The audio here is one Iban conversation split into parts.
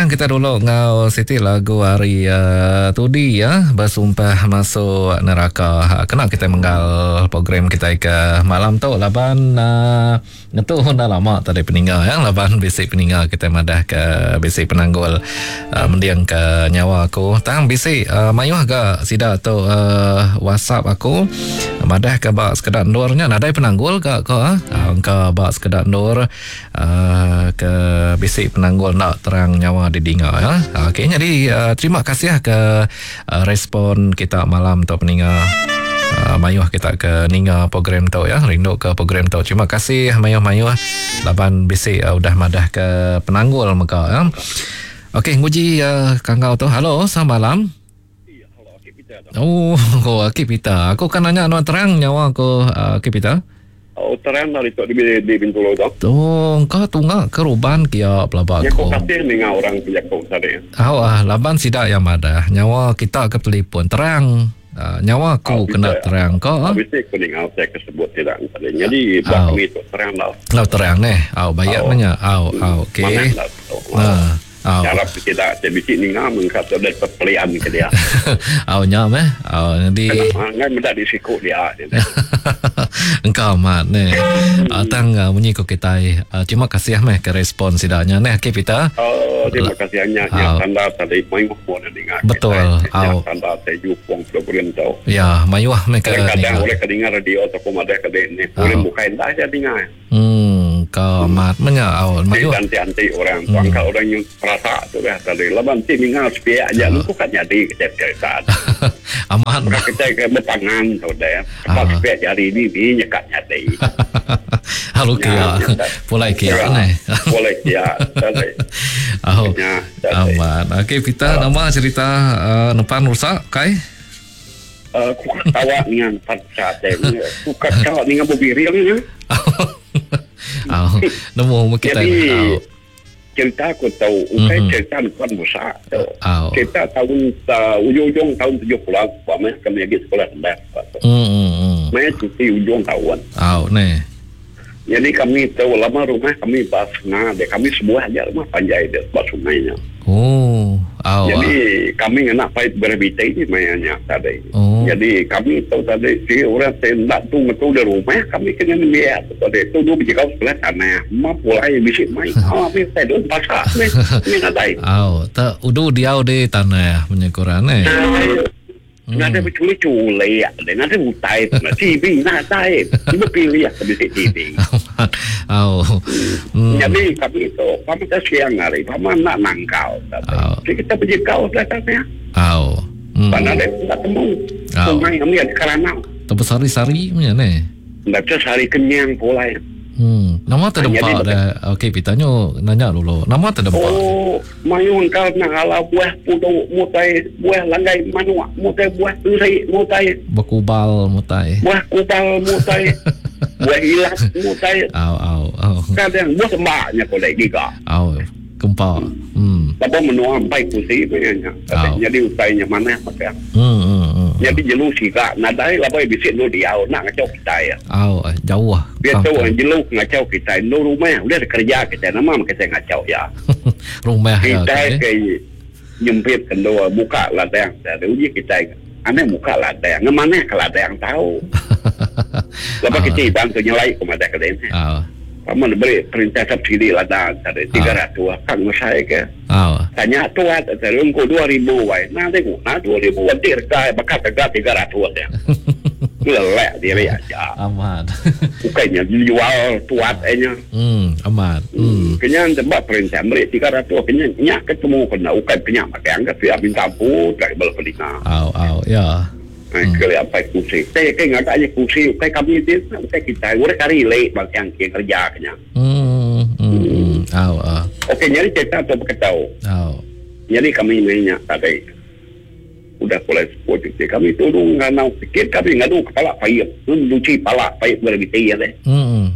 Beperindang kita dulu enggau siti lagu ari uh, Tudi ya, Bersumpah Masuk Neraka. Kena kita menggal program kita ke malam tu laban uh, Ngetu enda lama tadi peninga ya laban bisi peninga kitai madah ke bisi penanggul uh, mending ke nyawa aku tang bisi uh, mayuh ga sida tu uh, WhatsApp aku madah ke ba sekeda endur nya nadai penanggul ga ko uh, engka ba sekeda endur uh, ke bisi penanggul enda terang nyawa didinga ya. Okey jadi uh, terima kasih ke Respon kita malam tu peninga mayuh kita ke ninga program tu ya rindu ke program tu terima kasih mayuh-mayuh laban bisi udah madah ke penanggul mega ya. Okey nguji kanggau tu. Halo selamat malam. Oh, oh Aki Peter. Aku kan nanya nuan terang nyawa aku Aki Peter. Oh, terang dari tu di, di Bintulu tu. Tu engka tunga ke Ruban kia pelaba aku. Aku kasih ninga orang ke jaku tadi. Au ah, laban sida yang madah nyawa kita ke telefon terang. Uh, nyawa aku oh, kena terang ko. Oh, bisi aku ninga utai ke sebut tidak tadi. Jadi buat kami tu terang dah. Lau terang neh. Au bayar oh. nanya. Au au okey. Nah. Au. Ngarap ke sida ti bisi ninga mengka tu deh pepelian ke dia. Au nya meh. Au nyadi. Kena ngai meda di siku dia. Engka amat neh. Uh, tang uh, munyi ko kitai uh, terima kasih meh ke respon sida nya neh okey Peter. Oh terima kasih nya nya tanda tadi mayuh pun ninga. Betul. Au. Tanda te jupung program tu. Ya, mayuh meh ke kadang orang ke ninga radio ataupun madah ke ni. Orang bukai enda aja ninga. Hmm, ka amat menya au mayuh. Ti anti orang tu angkat orang yang perasa tu dah tadi. Laban ti ninga sepiak aja uh. kan jadi kita cerita. Amat. Bukan kita ke berpangan tu dah. Sebab uh. sepiak jari ni ni nyekat jadi. Halo kia. Pulai kia ne. Pulai kia. Au. Amat. Okey Peter nama cerita uh, nepan rusak kai? Ku ketawa ninga empat sate. Ku ketawa ninga bebiril nya. Au. Nemu kita. Jadi cerita aku tahu ukai mm-hmm. cerita nuan busa tu. Cerita tahun uh, ujung-ujung tahun 70 apa meh kami lagi sekolah rendah. Mm-hmm. Meh cuti ujung tahun. Au neh. Jadi kami tahu lama rumah kami ba sungai dia kami sebuah aja rumah panjai dia ba sungai nya. Oh, au. Jadi ah. kami ngena paip graviti ni maya nya tadi. Oh. Jadi kami tahu tadi si orang tindak tu ngetu di rumah kami kena nembiak tu tadi. Tu dulu berjegau sebelah tanah. Ma pulai bisi mai. Ah, mi tai dun pasak ni. Ni nadai. Au, tak udu diau di tanah menyekuran eh. Nadai beculik-culik deh, nadai utai pun. TV nadai. Cuma pilih ke bisi TV. Au. Hmm. Jadi kami tu, pama ke siang hari, pama nak nangkal. Jadi kita pergi kau dah tanya. Au. Hmm. Pak nadai tak temu. Sungai kami ada keranau. Terbesari-sari punya ni. Enda sehari kenyang pulai. Hmm. Nama terdempa dah. Okey, Peter nyu nanya dulu. Nama terdempa. Oh, mayuh engkau nak ala buah pudu mutai buah langgai manuk mutai buah teri mutai bekubal mutai. Buah kubal mutai. buah ilat mutai. Au au au. Kadang buah sembaknya ko lagi giga. Au. Kempa. Hmm. Lebuh menua empai kusi maya nya. Oh. Nyadi utai nya manah magang. Hmm, hmm, hmm. Nyadi jelu siga nadai laban bisi endur diau enda ngachau kitai. Au, jauh. Biasa orang jelu ngachau kitai endur rumah udah dikereja kitai nama meh kitai ngachau iya. Rumah iya. Kitai ke nyempit ke endur muka ladang tadi uji kitai anang muka ladang ngemanah ke ladang tau. Laban kitai Iban tu nyelai ku madah ke deh. Oh. Pama ne beri perintah subsidi ladang tadi 300 ka ngemesai ke. Tanya tuat tadi ungku 2000 wai. Nadai guna 2000 enti rega baka rega 300 nya. Ngelelak diri aja. Amat. Ukai nya jual tuat ai nya. Hmm amat. Hmm. Kenya enti ba perintah meri 300 kenya nya ke temu kena ukai kenya magang ke pia minta ampun ka bala peninga. Au au ya. Hmm. Keli apai kursi. Te ke ngaga nya kursi ukai kami ti ukai kitai. Urang kari lek bang yang ke kerja ke nya. Hmm. Hmm. Au ah. Okey nyadi cerita tu beketau. Au. Nyadi kami meh nya tadi. Udah pulai sepuluh cuti kami tulung nganau sikit kami ngadu kepala paip. Nuci pala paip graviti ya deh. Hmm.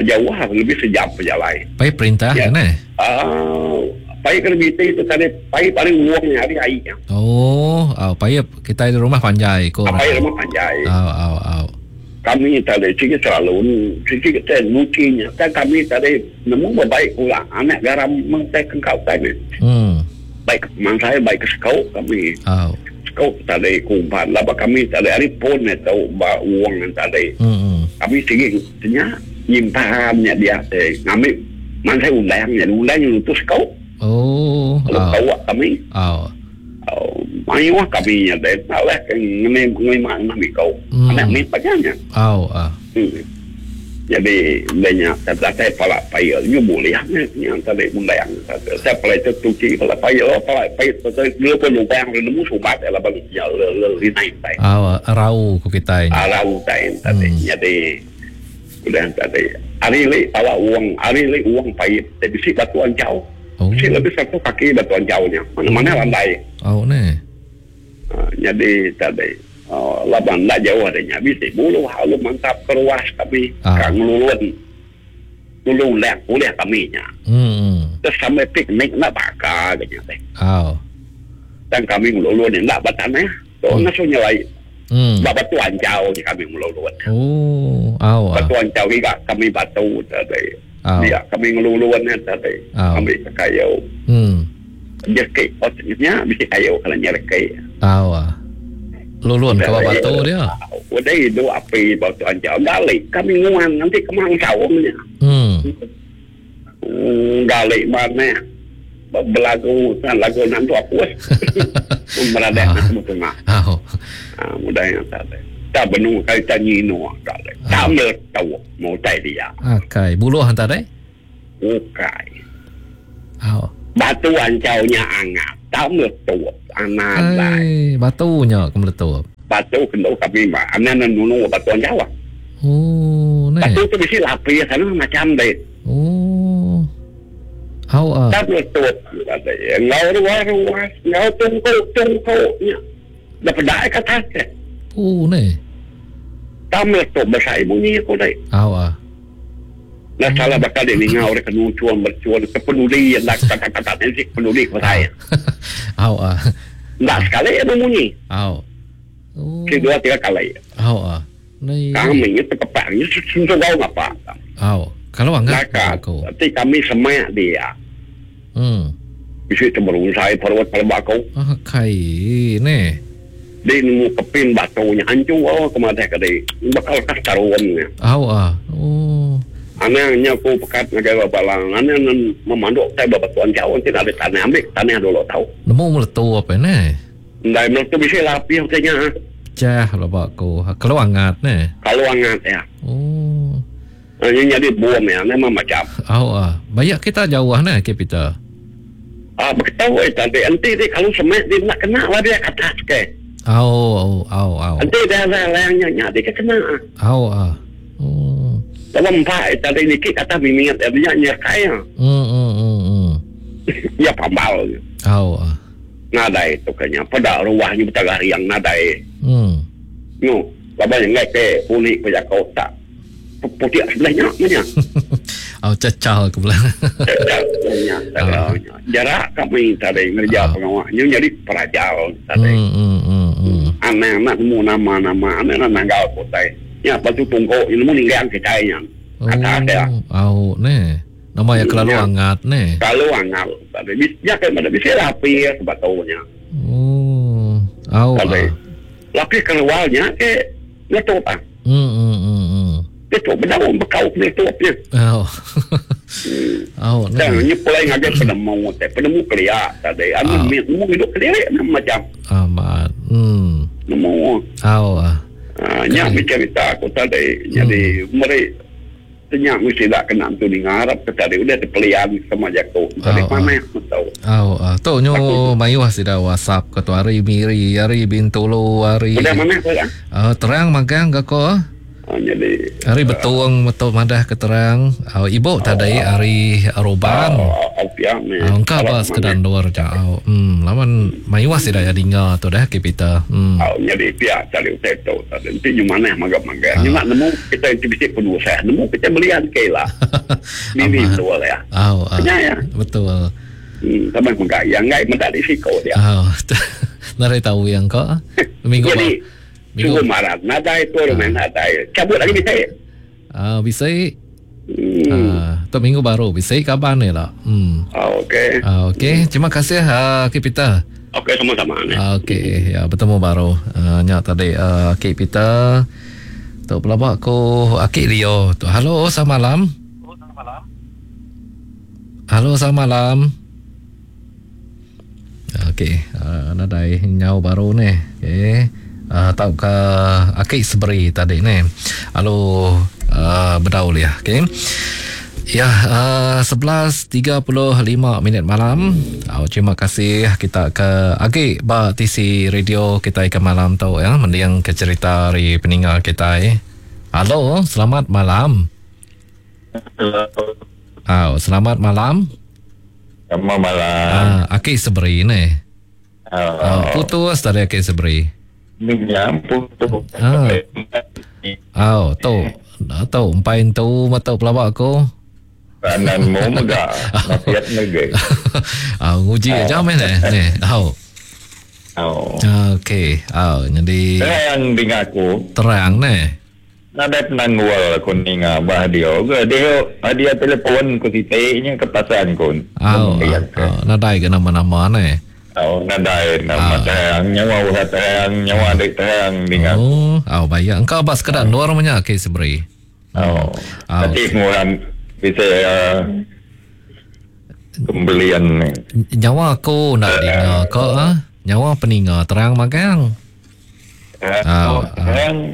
Jauh lah lebih sejam pejalai. Paip perintah ya. Kan eh? Ah, paip graviti tu tadi paip ari uang nya ari ai nya. Oh, au paip kitai di rumah panjai ko. Paip rumah panjai. Au au au. Kami tadi sigi selalu sigi te nuchi nya tang kami tadi nemu bebaik pula anak garam meng tai kengka utai meh. Baik ke pemansai baik ke sekau kami. Sekau tadi kumpan laban kami tadi ari pun itu ba wong tadi. Kami sigi nya nyimpan nya dia te ngambi mansai undang nya undang nya nutu sekau. Lalu tau kami. Mayuh kami nya deh alah ke ngeni ngelima enam iko anak mit aja nya. Jadi udah nya datai pala pail nyu bulih nya nya tadi undang tadi pala itu tuchi pala pail pala pail dulu pun lubang nemu sumbat laban nya linai utai. Rau ku kitai nya. Rau utai tadi jadi udah tadi ari li pala wong ari li wong paip ti bisi batu anchau. Bisi lebih satu kaki batu anchau nya. Mana-mana landai. Neh. Nyadi tadi laban enda jauh ari nya bisi buluh lalu mantap ke ruas kami ka ngelulun nulung undang ulih kami nya. Terus sambil piknik enda baka ga nya deh. Tang kami ngelulun enda ba tanah tu ngasuh nyelai. Ba batu anchau nya kami ngelulun. Batu anchau giga kami batu tadi. Dia kami ngelulun nya tadi ambi ke kayu. Jereki nya bisi kayu kena nyereki. Lulun ke ba batu dia. Udah idup api ba batu anchau gali kami nguan nganti ke mansau nya. Gali manah belagu lagu nantu apus. Meradak nak betunga. Mudah nya tadi. Tak benung kali tak nyinuk tadi. Tak meletup mau utai dia. Akai buluh tadi. Ukai. Batu anchau nya angat tau meletup anadai. Batu nya ke meletup. Batu kenu kami ba anan ne nunu batu anchau. Oh neh. Batu tu bisi lapis anu macam deh. Oh. Au ah. Tau meletup tadi enggau ruas-ruas enggau tungku-tungku nya. Dah peda ke atas deh. Oh neh. Tau meletup besai munyi aku deh. Au ah. Enda salah baka dek ninga orang ke nuchung merchun ke penudi enda tatat-tatat nya sik penudi ke besai. Au ah. Enda sekali iya bemunyi. Au. Sik dua tiga kali. Au ah. Nei. Kami nya tekepak nya sesugau ngapa. Au. Kalau angat aku. Ti kami semak dia. Bisi teberunsai perut peleba aku. Akai neh. Di nemu kepin batu nya anchu ke madah ke di baka lekas tarun nya. Au ah. Oh. Anang nya ku pekat ngagai ba bala anang ne memanduk utai ba batu anchau enti nadai tanah ambi tanah dulu tau. Nemu meletu apa neh. Ndai meletu bisi lapih utai nya. Pecah peleba ku. Kelu angat neh. Kalu angat iya. Oh. Nya nyadi bom iya nama macam. Au ah. Bayak kita jauh neh ke Peter. Ah beketu eh tadi enti di kalu semak di enda kena lah dia ke atas ke. Au au au au. Enti dia lang nya nya di ke kena. Au ah. Oh. Dalam empat eh tadi niki ke atas mimit eh nya nyekai ah. Hmm hmm hmm hmm. Ya pambal. Au ah. Nadai tu ke nya peda ruah nya betagah riang nadai. Hmm. Nyu laban enggai ke puni ke jako tak. Putik sebelah nya meh nya. Oh cecah ke belah. Cecah nya. Jarak kami tadi ngereja pengawa nya nyadi pelajar tadi. Anang nak nemu nama-nama anang nak nanggal ke utai. Nya batu tungko nya nemu ninggang kitai nya. Atas dia. Oh neh. Nama iya kelalu angat neh. Kelalu angat tadi. Nya ke bisi lapis batu nya. Oh. Au. Lapis keluar nya ke letup ah. Letup bedau bekau ke letup nya. Oh. Oh. Tang nya pulai ngagai penemu te penemu kelia tadi. Anu mit nemu hidup kediri macam. Amat. Nemu. Au. Nya mih cerita aku tadi. Jadi meri Nya meh sida kena entu ninga arap ke tadi udah tepelian sama jaku tadi manah metu. Au tu nyu mayuh sida WhatsApp ke tu ari Miri ari Bintulu ari Udah manah tu ya. Terang magang ga ko. Nyadi ari Betong metu madah ke terang ibu tadi ari Roban. Engka ba sekeda endur ja au. Laban mayuh sida iya dinga tu deh ke Peter. Au nyadi pia tadi utai tu tadi enti nyu manah maga maga nyu nak nemu kita enti bisi penusah nemu kita belian ke ila. Dini betul ya. Au. Nya ya. Betul. Tambah mega iya enggai meda risiko dia. Au. Nadai tau iya engka. Minggu jadi. Minggu. Suruh malam nadai tu rumah nadai. Cabut lagi bisi. Ah bisi. Hmm. Ah, tu minggu baru bisi kaban ni lah. Hmm. Ah, okey. Ah, okey. Terima kasih uh, Ki Peter. Okey sama-sama ni. Ah, okey, ya bertemu baru. Uh, nya tadi uh, Ki Peter. Tu pelaba aku Aki Leo. Tu halo selamat malam. Halo selamat malam. Okey, uh, nadai nyau baru ni. Okey. Uh, tau ke aki seberi tadi ni. Halo uh, bedau liah. Okey. Ya, uh, 11.35 minit malam. Oh, terima kasih kita ke agi ba TC radio kita ke malam tu ya, mending ke cerita hari peninggal kita. Eh. Halo, selamat malam. Halo. Oh, selamat malam. Selamat malam. Ah, aki seberi ni. Oh. Oh, putus tadi aki seberi. Ni putus. Ah. Oh, tu. Tu empai tu mata pelawak aku. Kanan mu mega. Nasihat mega. Ah, nguji aja meh ni. Ni. Oh. Oh. Okey. Oh, jadi Terang dengan aku. Terang ni. Nadai penanggul aku ninga bah dia ke dia dia telefon ku titiknya ke pasan ku. Oh, oh, nadai ke nama-nama ni. Oh, nadai nama terang nyawa urat terang nyawa adik terang ninga. Oh, oh baik. Engkau bas sekedar luar punya ke seberi. Oh. Nanti orang bisa pembelian ni. Nyawa aku nak dengar kau ah. Nyawa peninga terang magang. Oh, terang.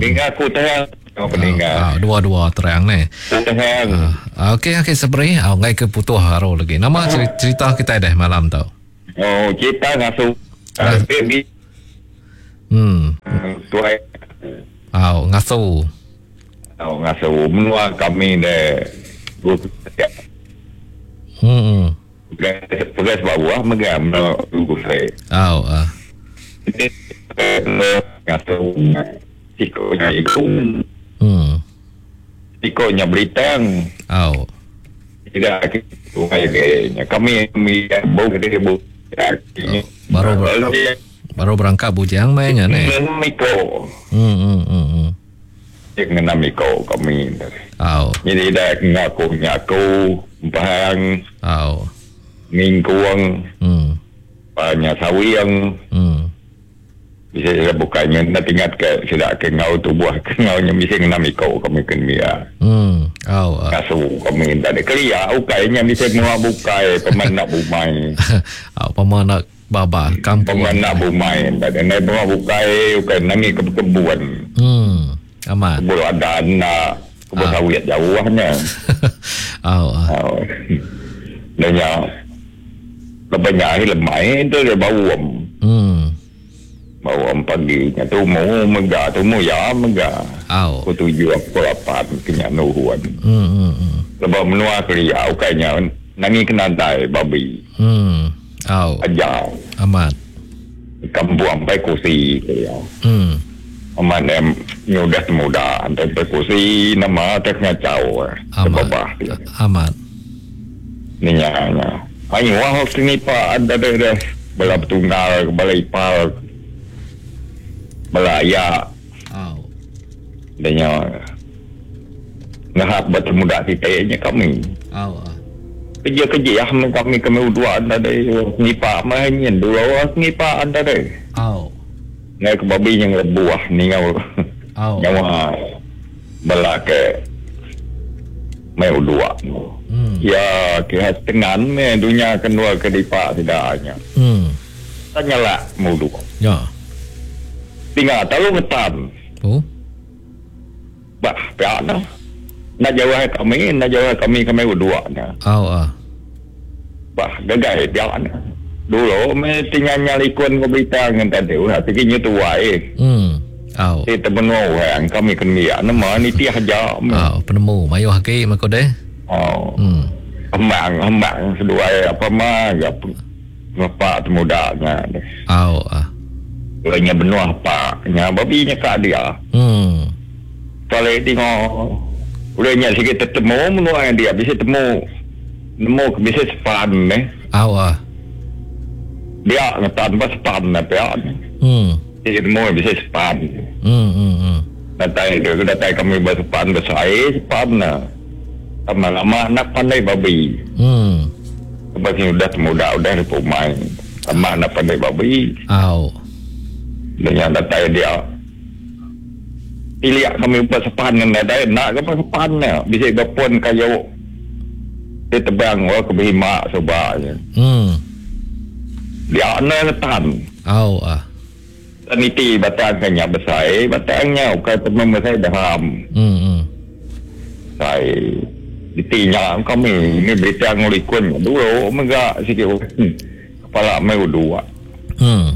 Dengar aku terang. Oh, peninga. Dua-dua terang ni. Terang. Okey okey seberi. Oh, ngai ke putuh haru lagi. Nama cerita kita dah malam tu. Oh, cerita ngasu. Baby. Tuai. Oh, ngasu. Oh, ngasu. Menua kami deh. Pegas bawah megang menua gusai. Oh, ah. Ngasu sikonya iku. Sikonya beritang. Oh. Tidak kami bau gede bu. Baru berangkat bujang mainnya ni. Miko. Dengan miko kami. Oh. Jadi dah ngaku ngaku pahang. Oh. Mingkuang. Banyak sawiang. Bisa saya bukannya nak ingat ke tidak ke ngau tubuh ke ngaunya bisa enam iko kami kena. Oh. Kasu kami tak ada kelia ukainya bisa mua bukai peman nak bumai. Oh, peman nak baba kampung. Peman nak bumai tak ada nak mua bukai ukai nangi ke kebun. Aman. Kebun ada anak kebun sawit jauhnya. Oh. Oh. Dan yang lebihnya lemai itu dia bau. Bawa pagi nya tu mau mega tu mau ya mega. Oh. Aku 7 aku 8 kenya nuhuan. Lepas menua kelia ukainya nangi kena dai babi. Oh. Aja. Amat. Kampung sampai kursi kelia. Amat em nyudah muda sampai kursi nama tak ngacau. Amat. Amat. Ni nya. Ayo wah sini pak ada dah bala tunggal bala ipal. Belaya. Oh. Dan ngahap bertemuda titiknya kami. Oh. Kerja-kerja ya kami kami dua anda deh ngipak main dua orang ngipak anda deh. Oh. Ngai ke babi yang lebuah ni ngau. Oh. Nyawa bela ke mai dua. Ya ke tengan me dunia kedua ke dipak tidaknya. Tanyalah mudu. Ya. Tinggal tahu ngetan. Oh. Bah, pihak dah. Nak jauh kami, nak jauh kami kami berdua dah. Oh ah. Bah, gagal pihak dah. Dulu me tinggal nyalikun ko berita dengan tadi, ulah tiginya tua eh. Oh. Eh temen orang kami kena nama ni tiah aja. Oh, penemu mayu haki mako deh. Oh. Hembang seduai apa mah ya bapak temudanya. Oh ah. Orangnya benua apa? Nya babi nya kat dia. Kalau tengok orangnya sikit tertemu menua dia bisa temu nemu bisa sepan ni. Awak. Dia ngetan pas sepan apa ya. Nemu bisi sepan. Hmm hmm hmm. Datai ke datai kami ba sepan besai sepan ne. Lama lama enda pandai babi. Hmm. Lepas nya udah temuda udah ari pumai. Lama enda pandai babi. Au. Dah nya datai dia. Tilik kami ba sepan ne nadai enda ga ba sepan ne bisi ba pun kayu ti tebang wak ke behima suba nya. Hmm. Dia enda ngetan. Au ah. Tan iti batang ke nya besai batang nya ukai pemem besai daham. Hmm hmm. Besai iti nya kami ni berita ngelikun dulu mega sigi kepala meh uduk. Hmm.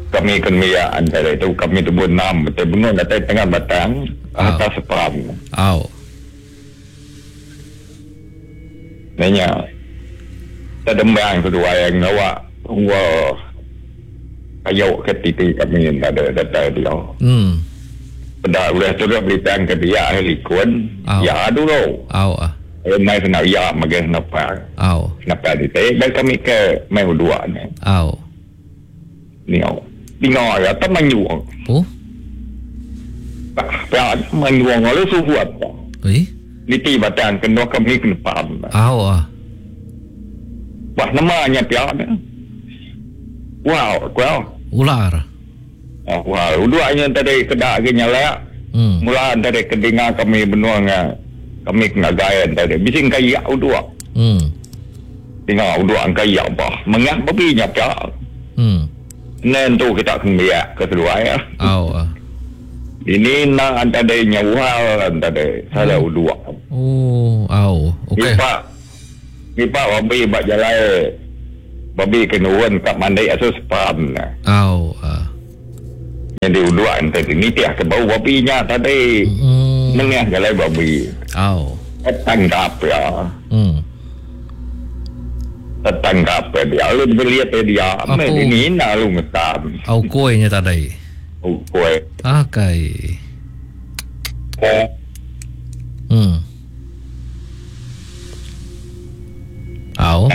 Kami ke nembiak antara itu kami tebun enam betul benung datai tengah batang atas sepan. Au. Nanya. Tedembang seduai ngawa tunggu kayu ke titi kami enda ada datai dia. Hmm. Peda udah tu dah beritang ke dia likun. Ya dulu. Au. Mai kena iya mega senapang. Au. Senapang diti bai kami ke mai uduk ni. Au. Nio. Dinga iya tak manyung. Oh. Pia manyung lalu suhut. Oi. Niti batang kena kami ke depan. Au ah. Wah nama nya pia ne. Wow, ku Ular. Ah, ular. Uduk nya tadi keda agi nyalak. Hmm. Mula tadi ke dinga kami benung kami ke ngagai tadi. Bisi engkayak uduk. Hmm. Dinga uduk engkayak bah. Mengah babi nya pia. Hmm. Nen tu kita kembiak ke seduai ah. Au ah. Ini nak tadi nyauhal tadi salah uduk. Oh, au. Okey. Nipak nipak babi ba jalai babi ke nurun kat mandi asu sepan. Au ah. Jadi uduk tadi nitih ke bau babi nya tadi. Hmm. Nengah jalai babi. Au. Tangkap ya. Tertangkap ya dia. Lalu dibeli apa dia. Apa? Ini nak lu ngetam. Au kuihnya tadi. Au kuih. Akai. Oh. Au.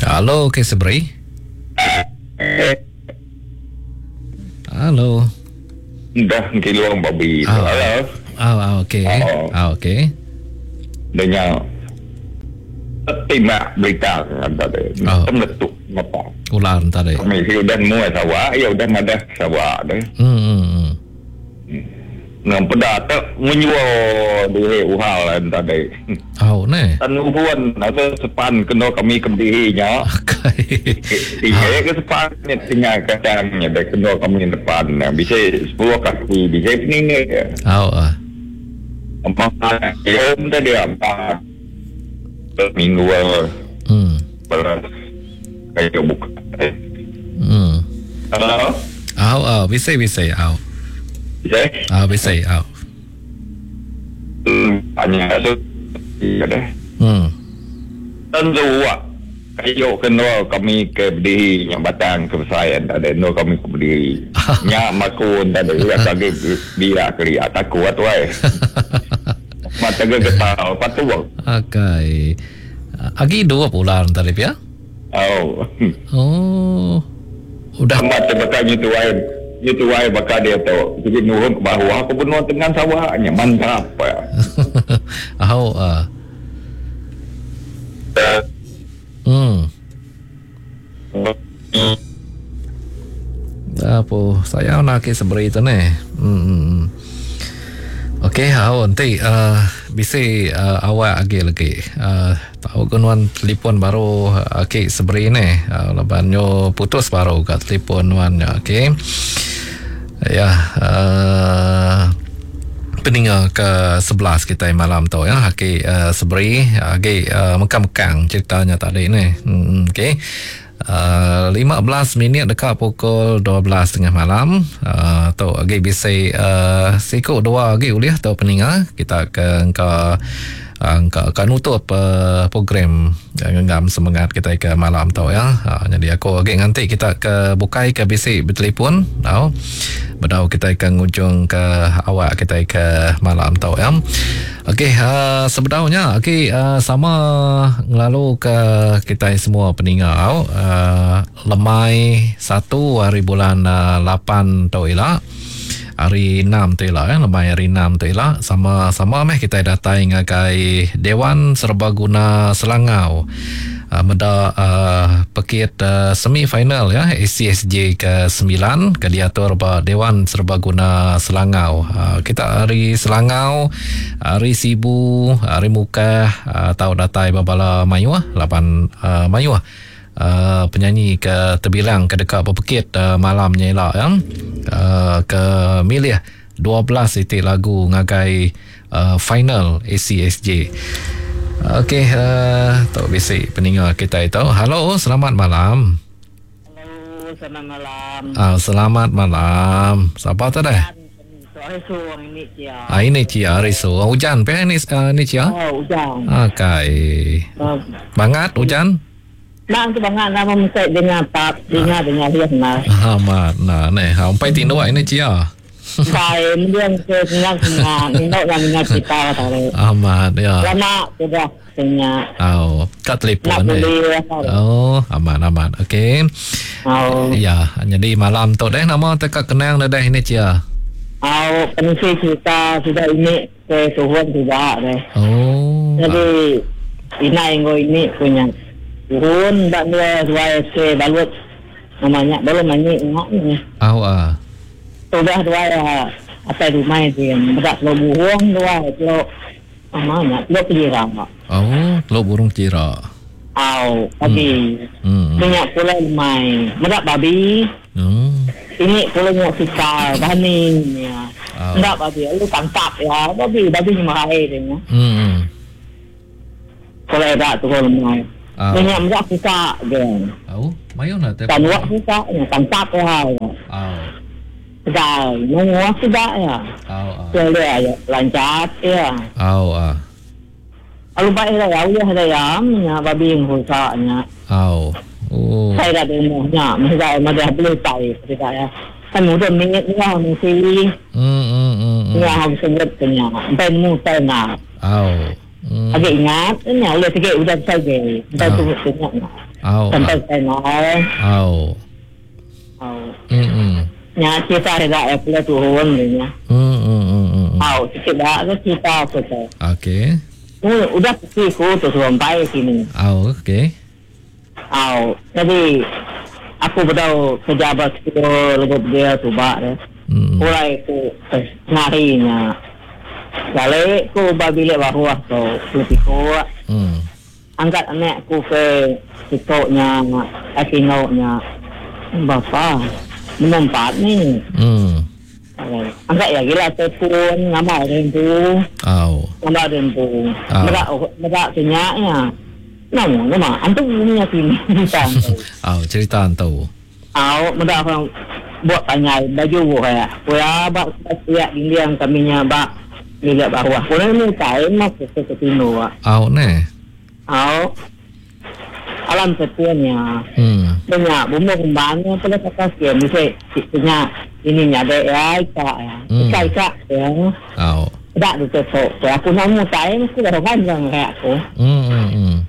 Halo, ke Sebri. Halo. Dah kiluang babi. Ah. Halo. Ah, ah, okey. Oh. Ah, okey. Dengan timbak berita tadi. Oh. Temletuk apa. Ular tadi. Kami sudah muat sawah, ya udah madah sawah deh. Ngam peda tak menyuruh diri uhal tadi. Oh, ne. Tan uhuan atau sepan kena kami kebdirinya. Okey. Tiga ke sepan ni tinggal kadangnya dah kena kami depan. Bisa 10 kaki, bisa ni. Oh, ah. Empat ya tadi empat minggu kayak buka. Halo. Oh, oh, bisa bisa. Oh. Bisa? Ah, bisa. Oh. Hanya tu. Ya deh. Tentu ah. Kayu kena kami ke berdiri yang batang kebesaran tak ada no kami ke berdiri. Nyak makun tak ada ya kaki dia kali takut tu ai. Mata ke getau patu. Okey. Agi dua bulan tadi ya? Oh. Oh. Udah mata bakal nyitu ai. Nyitu ai bakal dia tu. Jadi nurun ke bawah aku benua tengah sawahnya mantap. Oh. Apa saya nak ke seberi tu ni. Okey, hau nanti bisi awak lagi lagi. Tahu kenuan telefon baru okey seberi ni. Lebanyo putus baru kat telefon nuan ya, okey. Ya, peninga ke 11 kita malam tu ya. Okey, seberi okey mekang-mekang ceritanya tadi ni. Okey. 15 minit dekat pukul 12.30 malam. Tu lagi bisi siku dua lagi uliah tu peninga kita ke engka Angka ka nutup program ngenggam semengat kitai ke malam tu ya. Nyadi aku agi nganti kita ke bukai ke bisi betelefon tau. Bedau kitai ke ngujung ke awak kitai ke malam tu ya. Okey sebedau nya agi sama ngelalu ke kitai semua peninga au lemai satu hari bulan lapan tu ila hari enam tu ila ya lemai hari enam tu ila sama sama meh kitai datai ngagai Dewan Serbaguna Selangau. Meda pekit semi final ya ACSJ ke 9 ke diatur ba Dewan Serbaguna Selangau. Kita ari Selangau, ari Sibu, ari Mukah tau datai ba bala mayuh laban mayuh penyanyi ke terbilang ke deka bepekit malam nya ila ya. Ke milih 12 iti lagu ngagai final ACSJ. Okey, tu bisi peninga kitai tu. Halo, selamat malam. Halo, selamat malam. Selamat malam. Siapa tu dah? Hari suang ini cia. Ah, ini cia hari suang. Hujan pe ini ini cia? Oh, hujan. Okey. Bangat hujan? Bang tu bangat nama mesai dengar pap, dengar dengar dia nah. Amat nah neh. Sampai tinduk ini cia. Pai mendiang ke senang senang induk nak dengar cerita tadi. Amat ya. Lama sudah tanya. Oh, kat telefon ni. Oh, amat amat. Okey. Oh. Ya, jadi malam tu deh nama teka kenang dah ini cia. Oh, pengisi cerita sudah ini ke suhun juga deh. Oh. Jadi ina inggo ini punya. Suhun bak dua dua ke balut namanya belum nyanyi ngak ni. Oh ah. Sudah dua ya atas rumah dia. Bedak telur burung dua telur namanya telur kira. Oh, telur burung kira. Au, babi. Minyak pula lemai. Bedak babi. Ini pula minyak sikar, baning ya. Enggak babi, lu tangkap ya. Babi, babi ni mahal dia. Kalau tak tu kalau lemai. Minyak bedak sikar je. Oh, mayo nak tak. Tangkap sikar, tangkap ya. Oh. Dah, nunggu sudah ya. Oh. Boleh lancar ya. Oh ah. Lalu baik dah ya, udah dah ya, nya babi yang husaknya. Oh. Oh. Saya dah dengarnya, mesti dah boleh tahu tidak ya. Kan udah minit ni lah mesti. Nya harus sebut punya. Sampai mu saya nak. Oh. Agak ingat, ni udah tiga udah saya. Sampai tu punya. Oh. Sampai saya nak. Oh. Oh. Nya cerita dah ya pula turun ni nya. Oh, sikit dah ke cerita apa tu. Okey. Udah pergi ku tu sampai sini. Oh, okey. Oh, jadi aku bedau kerja bas ku lebih dia tu bak deh. Mulai ku ngarinya. Balik ku babilik baru tu lebih ku. Angkat anak ku ke sikoknya, akinoknya. Bapa menempat ni. Angkat ya gila telefon nama rempu. Oh. Nama rempu. Merak kenyaknya. Nama nama antu punya sini. Oh, cerita antu. Oh, merak orang buat tanya baju kayak. Kuya bak siap dinding kaminya bak lihat bawah. Kuya ni kain mak ke ketino. Oh, ne. Oh. Alam sepunya. Banyak bumbu kembangnya pada kata siap mesti punya ini ada ya ika ya. Ika ika ya. Oh. Tak tu tu. Aku nak mutai mesti dah panjang kayak aku.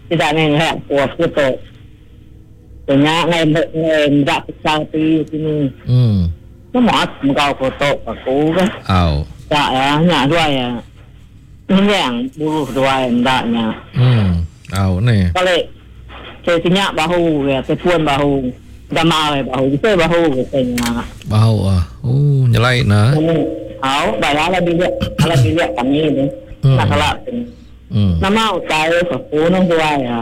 Tidak ni kayak aku aku tu. Banyak ngai ngai tak ti sini. Semua engkau foto aku kan. Oh. Tak ya, nyak dua ya. Ini yang bulu dua yang taknya. Oh ni. Kalau saya tinyak bahu ya, tepuan bahu. Gamar bahu, kita bahu katanya. Bahu ah. Oh, nyelai nah. Oh, bayar lah bilik, kalau bilik kami ni. Nak kelak. Nama utai aku nang dua ya.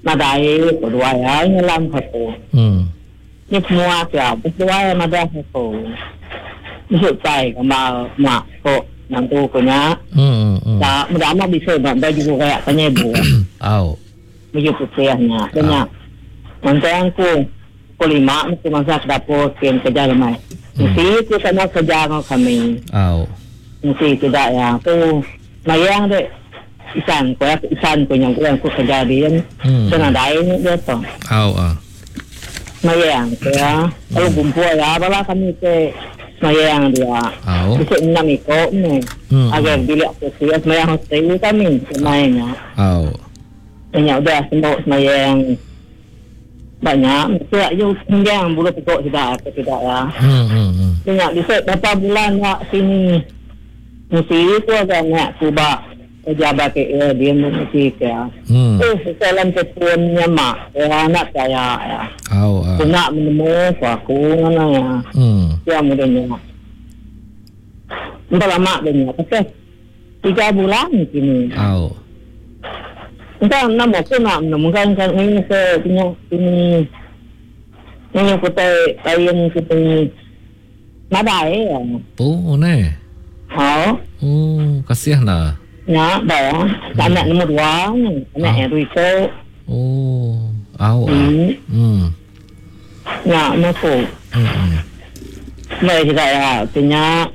Madai dua ya, nyelam aku. Ni semua ya, dua ya madai aku. Masuk tai gamar mak kok nantu punya. Tak, mudah amat bisa baju kayak tanya ibu. Oh. Baju putihnya, banyak. Nanti aku pukul 5 aku masak dapur kian kerja lemai. Mesti aku sama kerja dengan kami. Oh. Mesti tidak ya. Aku mayang dek. Isan ko isan ko nyang ko kerja din. Hmm. Nadai dia tu. Au ah. Semayang ko ya. Lalu kumpul ya bala kami ke semayang dia. Au. Bisa enam iko ni. Agar bilik aku ya semayang hotel kami semayangnya. Au. Banyak udah sembok semayang. Banyak. Mesti you tinggal bulu pokok tidak atau tidak ya. Banyak bisa berapa bulan nak sini. Mesti ku agak nak kubak pejabat ke dia mesti ke. Eh dalam teleponnya mak ya nak saya ya. Au. Aku nak menemu aku mana ya. Ya mudahnya. Entah lama dia. Okey. 3 bulan sini. Au. Entah nama aku nak menemu kan kan ini ke punya ini. Ini kutai lain kita nadai ya. Oh, ne. Oh. Oh, kasihan lah. Ya, dah. Anak nombor 2, anak yang itu. Oh, au. Ya, aku. Mari kita ya, punya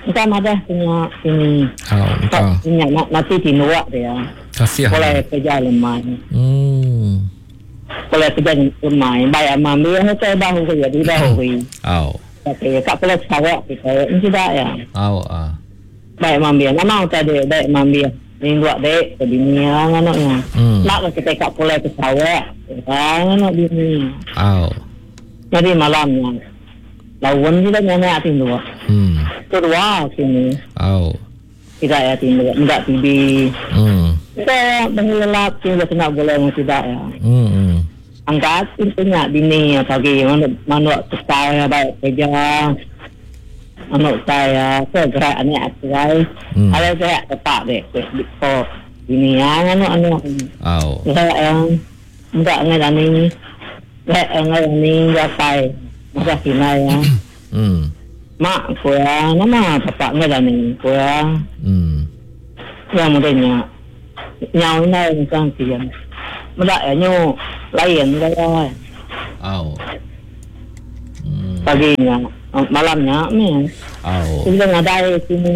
entah ada punya ini. Au, entah. Punya mati di luar dia. Kasihan. Boleh kerja lemah. Boleh kerja lemah. Bayar mami, saya bahu kerja di bahu. Au. Okey, tak boleh sawak kita. Ini tidak ya. Au ah. Baik mami, nama tadi baik mami. Ni buat dek ke bini lah anaknya. Nak kita kat boleh ke sawak. Anak bini. Au. Jadi malamnya. Lawan kita nyanyi tindu. Kedua sini. Au. Tidak ya tindu, enggak TV. Kita mengelak tindu kena boleh tidak ya. Angkat punya bini pagi manuk saya baik kerja. Manuk saya ke gerak anak saya. Ada saya tetap dek ko bini yang anu anu. Au. Saya yang enggak ngerani. Saya ngerani japai. Masa kina ya. Mak ko ya, nama bapak ngerani ko ya. Ya mudahnya. Nyau nai kan kian. Mudah ya nyu lain kaya. Au. Paginya, malamnya ni. Au. Kita ngadai sini.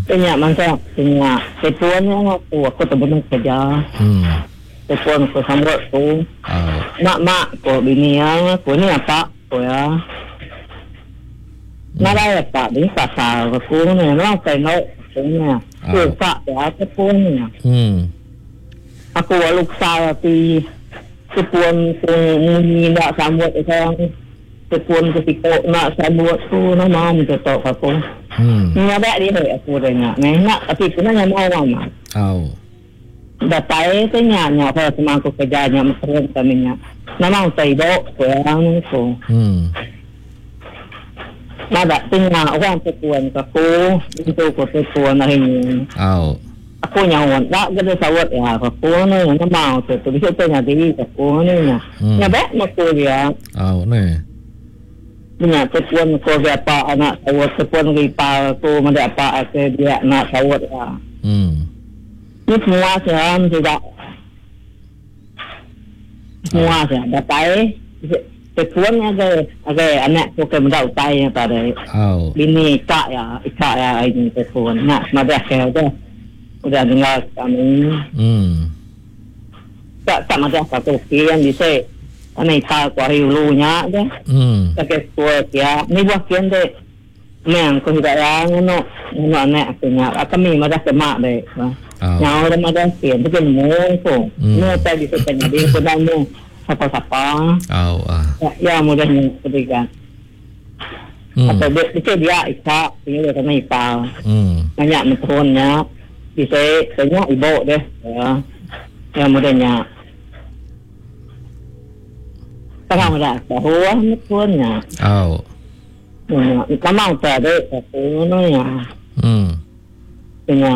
Punya mangsa punya telepon aku terbunung kerja. Telepon aku sambut aku. Au. Mak mak ko bini aku ni apa ko ya. Ngadai apa bini pasal aku ni, nak tengok ni. Aku tak ya telepon ni. Aku waluk saya pi telepon ku ni nak sambut saya. Telepon ku sikok nak sambut tu nama ni tok aku. Ni ada dia aku tanya. Ni nak tapi kena nyamau mama. Au. Datai tanya nya apa semua aku kerja nya mesra kami nya. Nama utai dok ku orang ku. Nada tanya orang telepon aku itu ku telepon hari ni. Au. Aku nyawan tak kena sawat ya aku ni nama tu tu bisa tanya diri aku ni nya. Nya baik aku dia. Au ni. Punya telepon ko apa anak sawat telepon ripa aku mana apa ke dia nak sawat ya. Ni semua saya tidak. Semua saya dapai telepon ada ada anak aku ke mendak utai pada. Au. Bini tak ya, tak ya ini telepon nak madah ke dah. Udah dengar kami. Tak tak madah satu kian bisa. Ani ta ku hari ulunya dah. Pakai kuat ya. Ni buah kian deh. Memang ku tidak yang no no anak aku nya. Kami madah semak deh. Nyawa dah madah kian. Betul mu ku. Mu tak bisa tanya dia ku dah mu siapa-siapa. Au ah. Ya mudahnya ketiga. Atau dia dia isak dia kena ipal. Banyak menturunnya. Bisa tanya ibu deh. Ya. Ya mudahnya. Kalau dah tahu betul-nya. Au. Lama tak ada aku ni ya. Punya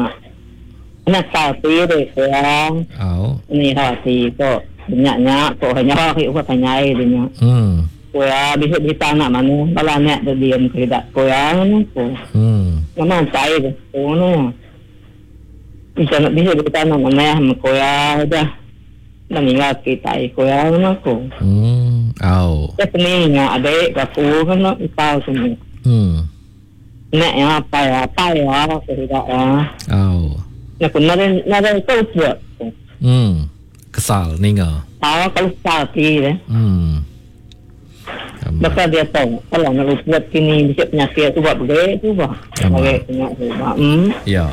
anak satu deh ya. Au. Ni hati ko punya ko hanya aku ko tanya dia. Ko ya bisa ditanya mana kalau anak dia diam tidak ko ya ko. Lama tak ada ko ni. Bisa bisa ditanya mana ko ya dah. Dah meninggal kita ko ya ko. Au. Cái ni nhà adik aku kan nak tahu semua. Nek yang apa ya, apa ya, tidak ya. Au. Aku nadai nadai kau buat. Kesal ninga. Ah, kalau kesal ti deh. Baka dia tahu kalau nak buat kini bisa penyakit tu buat boleh tu bah. Boleh penyakit tu bah. Ya.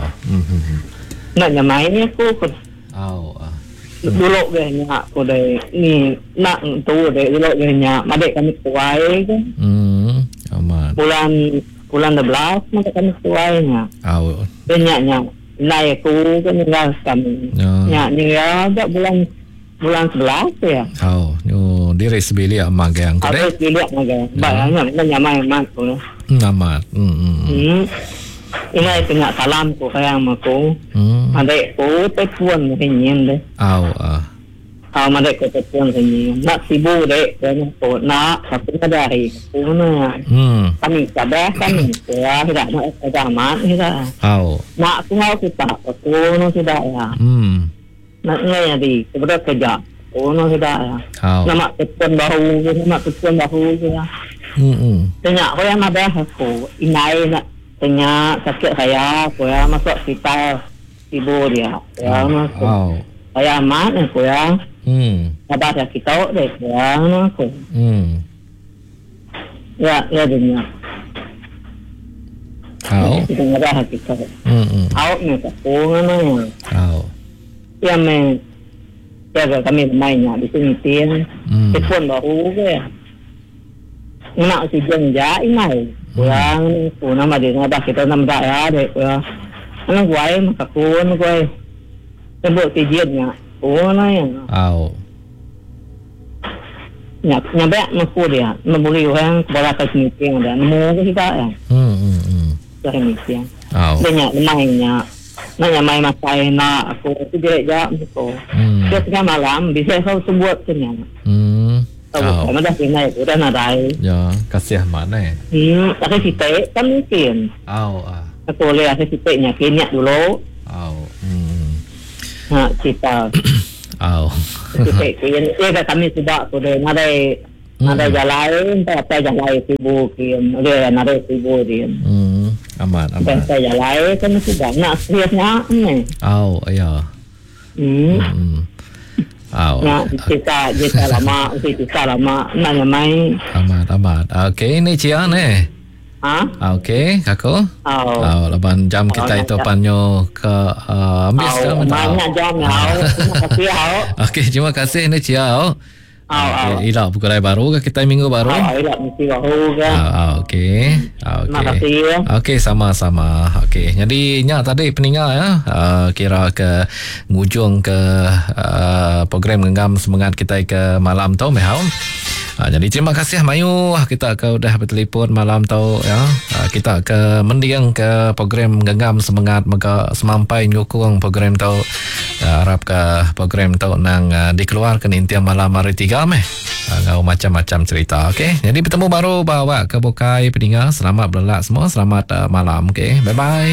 Nak nyamai ni aku. Au. Dulu ke nyak aku deh ni nak tu deh dulu ke nyak madek kami tuai ke. Amat. Bulan bulan 12 madek kami tuai nya. Au. Nyak nyak nai aku ke ninggal kami. Nyak ni ya bulan bulan 11 ya. Au, nyu diri sebilik magang ko deh. Sebilik magang. Ba nyak nyamai amat ko. Amat. Ini tengah salam ko kaya aku. Adek ko telefon nyin deh. Au. Ah madek ko telefon nyin. Nak sibuk dek ko nak tapi ada hari ko na. Kami sabah kami ya tidak nak ada amat tidak. Au. Nak aku mau kita aku no tidak ya. Nak ngai di kepada kerja. Ko no tidak ya. Nama telefon bahu nama telefon bahu ya. Tengah ko yang ada aku inai nak tengah sakit saya ko ya masuk hospital ibu dia ya masuk. Saya amat ko ya. Abah dah kita deh ya aku. Ya ya dunia. Au. Kita ada kita. Au ni aku ngono ya. Au. Ya me ya kami mainnya di sini tin. Telefon baru ke. Nak si jeng ja inai. Kurang ku nama dia abah kita nama tak ya deh ya. Anak gue maka ku anak gue. Sebut si jiannya. Oh na ya. Au. Nya nya ba ku dia, membuli orang bola ke meeting ada. Nemu ke kita ya. Ke meeting. Au. Dia nya mainnya. Nak nya main makai nak aku tu dia ja aku. Dia tengah malam bisa kau sebut kenya. Au. Kamu dah kena udah nadai. Ya, kasih mana? Tapi kita kan mungkin. Au. Aku boleh aku kita nya kenya dulu. Au. Ha, kita. Au. Kita kena kami sudah sudah nadai nadai jalan, apa jalan sibuk kian, dia nadai sibuk dia. Amat amat. Apa jalan kami sudah nak seriusnya ni. Au, ya. Au. Nak cerita cerita lama, cerita lama, nak main. Amat amat. Okey, ni Cia ni. Ha? Okey, aku. Au. Au, lapan jam kita itu panyo ke ambil sekarang. Banyak jam au. Terima kasih au. Okey, terima kasih ni Cia au. Au au. Ila buku lai baru ke kita minggu baru? Au, ila mesti baru ke. Au, okey. Okey. Terima kasih. Okey, sama-sama. Okey. Jadi nya tadi peninga ya, kira ke ngujung ke program genggam semangat kita ke malam tu mehau. Jadi terima kasih Mayu kita ke udah bertelefon malam tu ya. Kita ke mendiang ke program genggam semangat maka semampai nyukung program tu. Harap ke program tu nang dikeluarkan intian malam hari 3 meh. Ngau macam-macam cerita okey. Jadi bertemu baru bawa ke bukai peninga. Selamat berlelak semua. Selamat malam okey. Bye bye.